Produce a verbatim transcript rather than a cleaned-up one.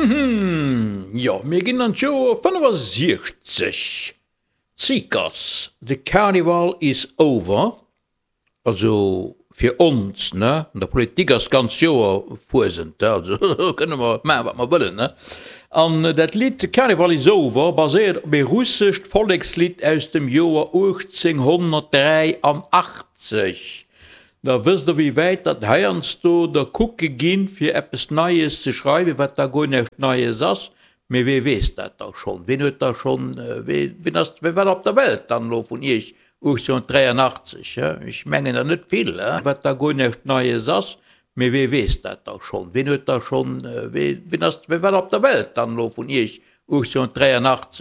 Jo, mir ginn an d'Joer fënnefasiechzeg. Seekers, The Carnival is over. Also fir ons, ne? An der Politik ass d'ganz Joer Fuesent, also do kënne mer maachen, wat mer wëllen, ne? An dat Lidd The Carnival is over baséiert op ee russescht Vollekslidd aus dem Joer uechtzénghonnertdräianachtzeg. Da wësst der wéi wäit datt heiansdo der kucke ginn, fir eppes Neies ze schreiwen, wat da guer näischt Neies ass. Mee wee weess dat da schonn? Ween huet da schonn, ween ass, wee war op der Welt dann elo vun iech uechtzénghonnertdräianachtzeg? Ech mengen der net vill, wat da guer näischt Neies ass. Mee wee weess dat da schonn? Ween huet da schonn, ween ass, wee war op der Welt dann elo vun iech uechtzénghonnertdräianachtzeg?